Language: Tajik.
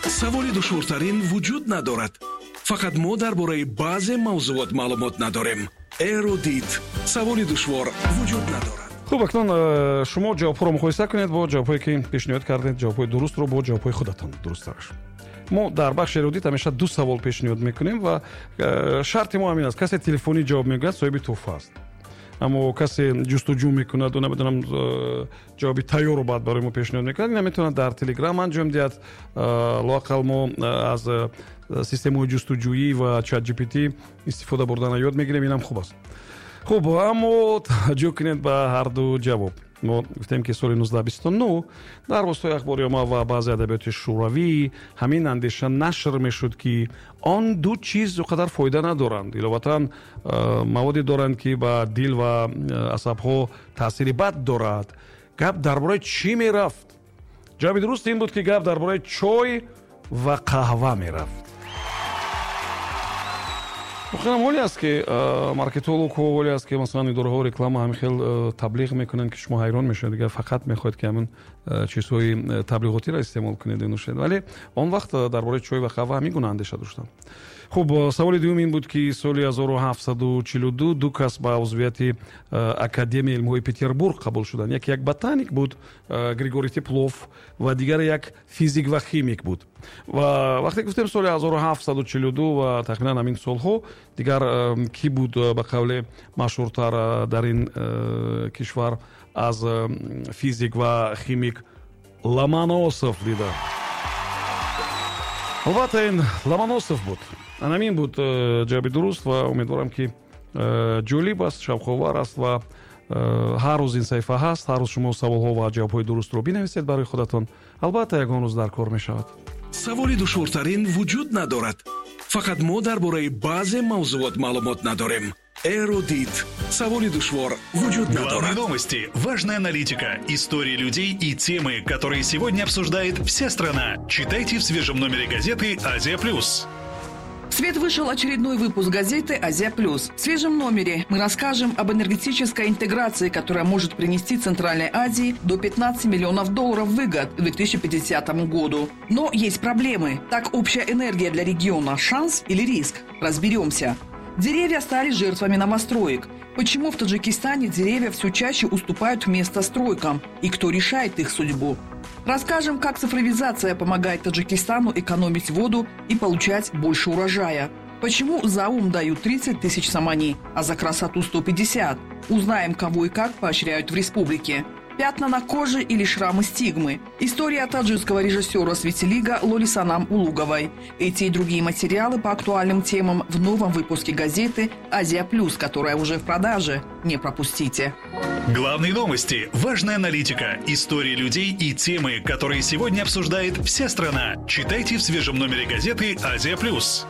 Саволи душвортарин вуҷуд надорад. Фақат мо дар бораи баъзе мавзуот маълумот надорем. Эрудит. Саволи душвор вуҷуд надорад. Хуб, акнун шумо ҷавобҳоро муқоиса кунед бо ҷавобҳое, ки пешниҳод кардед, ҷавобҳои дурустро бо ҷавобҳои худатон дурусттараш. Мо дар бахши эрудит ҳамеша ду савол пешниҳод мекунем ва шарти мо ҳамин аст: касе телефонӣ ҷавоб мегӯяд, соҳиби тӯҳфа аст, аммо касе ҷустуҷӯ мекунаду, намедонам, ҷавоби тайёрро баъд барои мо пешниҳод мекунад, ина метавонад дар Телеграм анҷом диҳад. Лоақал мо аз системаҳои ҷустуҷӯӣ ва Чат GPT истифода бурдана ёд мегирем, инам хуб аст. Хуб, аммо таваҷҷӯҳ кунед ба ҳарду ҷавоб. Мо гуфтем, ки соли 1929 дар воситаи ахбори омма ва баъзе адабиёти шӯравӣ ҳамин андеша нашр мешуд, ки он ду чиз он қадар фоида надоранд, иловатан маводе доранд, ки ба дил ва асабҳо таъсири бад дорад. Гап дар бораи чӣ мерафт? Ҷавоби дуруст ин буд, ки гап дар бораи чой ва қаҳва мерафт. Воқеан, ҳоле аст, ки маркетологҳо, ҳоле аст, ки масалан идораҳо реклама ҳамин хел таблиғ мекунанд, ки шумо ҳайрон мешавед, дигар фақат мехоҳед, ки ҳамин чизҳои таблиғотиро истеъмол кунед, нӯшед. Вале он вақт дар бораи чой ва қаҳва ҳамин гуна андеша доштанд. Хуб, саволи дуюм ин буд, ки соли 1742 ду кас ба узвияти Академияи илмҳои Петербург қабул шуданд. Яке як ботаник буд, Григорий Теплов, ва дигаре як физик ва химик буд. Ва вақте гуфтем соли 1742 ва тахминан ҳамин солҳо, дигар кӣ буд, ба қавле, машҳуртар дар ин кишвар аз физик ва химик Ломоносов дида? Албатта, ин Ломоносов буд. Анамин буд ҷавоби дуруст. Ва умедворам, ки ҷолиб аст, шавқовар аст ва ҳар рӯз ин саҳифа ҳаст. Ҳар рӯз шумо саволҳо ва ҷавобҳои дурустро бинависед барои худатон, албатта ягон рӯз дар кор мешавад. Саволи душвортарин вуҷуд надорад. Фақат мо дар бораи баъзе мавзуот маълумот надорем. Эрудит. Саволи душвор вуҷуд Главные надорад. новости, важная аналитика, истории людей и темы, которые сегодня обсуждает вся страна. Читайте в свежем номере газеты «Азия плюс». В свет вышел очередной выпуск газеты «Азия Плюс». В свежем номере мы расскажем об энергетической интеграции, которая может принести Центральной Азии до 15 миллионов долларов выгод к 2050 году. Но есть проблемы. Так, общая энергия для региона – шанс или риск? Разберемся. Деревья стали жертвами новостроек. Почему в Таджикистане деревья все чаще уступают место стройкам? И кто решает их судьбу? Расскажем, как цифровизация помогает Таджикистану экономить воду и получать больше урожая. Почему за ум дают 30 тысяч сомони, а за красоту 150? Узнаем, кого и как поощряют в республике. Пятна на коже или шрамы стигмы. История таджикского режиссера с витилиго Лолисанам Улуговой. Эти и другие материалы по актуальным темам в новом выпуске газеты «Азия Плюс», которая уже в продаже. Не пропустите. Главные новости, важная аналитика, истории людей и темы, которые сегодня обсуждает вся страна. Читайте в свежем номере газеты «Азия Плюс».